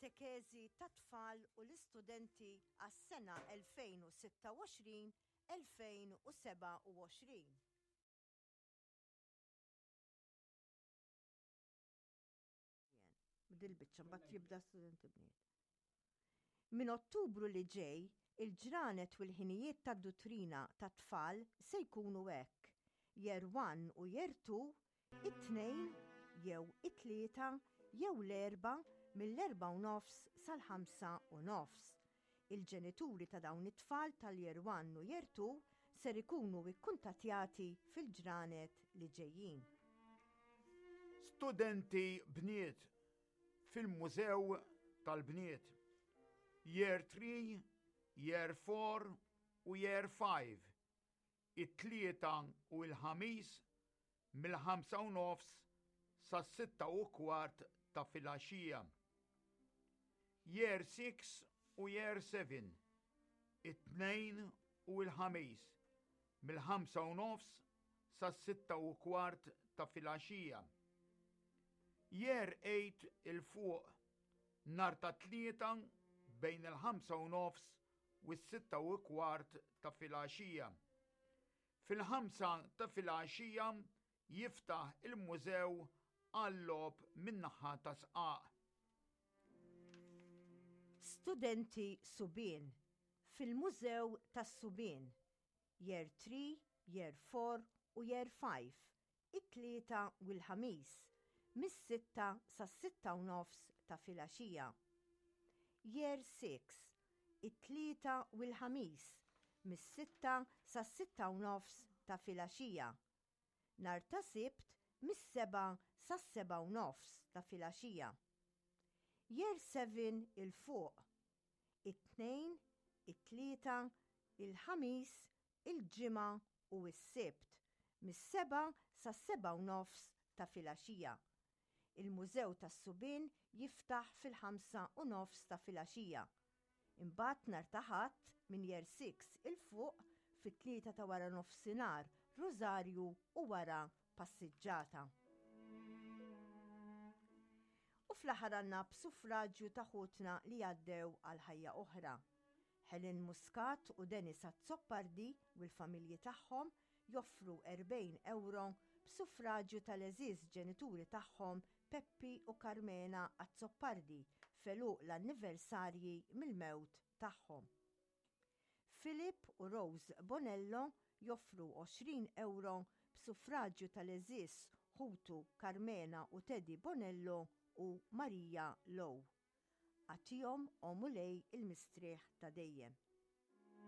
Katekeżi tat-tfal u l-istudenti għas-sena 2026-2027. Dil-biċċa mbagħad jibda studenti bniet. Minn Ottubru li ġej, il-ġranet u l-ħinijiet tad-duttrina tat-tfal se jkunu hekk, Year 1 u Year 2, it-Tnejn jew it-Tlieta jew l-Erbgħa mill-erbgħa u nofs sal-ħamsa u nofs. Il-ġenituri ta' dawn it-tfal tal-Year 1 u Year 2 ser ikunu ikkuntattjati fil-ġranet li ġejjin. Studenti bniet fil-Mużew tal-Bniet, Year 3, Year 4 u Year 5, it-Tlieta u l-Ħamis mill-ħamsa u nofs sas-sitta u kwart ta' filgħaxija. Year 6 u Year 7, it-Tnejn u l-Ħamis mill-ħamsa u nofs sas-sitta u kwart ta' filgħaxija. Year 8 'il fuq, nhar ta' Tlieta bejn il-ħamsa u nofs u s-sitta u kwart ta' filgħaxija. Fil-ħamsa ta' filgħaxija jiftaħ il-mużew għal-logħob min-naħa ta' Sqaq. Studenti subien fil-Mużew tas-Subien, Year 3, Year 4 u Year 5, it-Tlieta u l-Ħamis, mis-sitta sas-sitta u nofs ta' filgħaxija. Year 6, it-Tlieta u l-Ħamis, mis-sitta sas-sitta u nofs ta' filgħaxija. Nhar ta' Sibt mis-sebgħa sas-sebgħa u nofs ta' filgħaxija. Year 7 'il fuq, it-Tnejn, it-Tlieta, il-Ħamis, il-Ġimgħa u s-Sibt, mis-sebgħa sas-sebgħa u nofs ta' filgħaxija. Il-Mużew tas-Subien jiftaħ fil-ħamsa u nofs ta' filgħaxija. Imbagħad nhar ta' Ħadd minn Year 6 'il fuq fit-tlieta ta' wara nofsinhar Rużarju u wara passiġġata. U fl-aħħar għandna b'suffraġju ta' ħutna li għaddew għal ħajja oħra. Helen Muscat u Dennis Azzopardi u l-familji tagħhom joffru 40 ewro b'suffraġju tal-għeżież ġenituri tagħhom Peppi u Karmena Azzopardi f'għeluq l-anniversarji mill-mewt tagħhom. Philip u Rose Bonello joffru 20 ewro b'suffraġju tal-għeżież ħutu Karmena u Teddy Bonello u Maria Lowe. Agħtihom, o Mulej, il-mistrieħ ta' dejjem.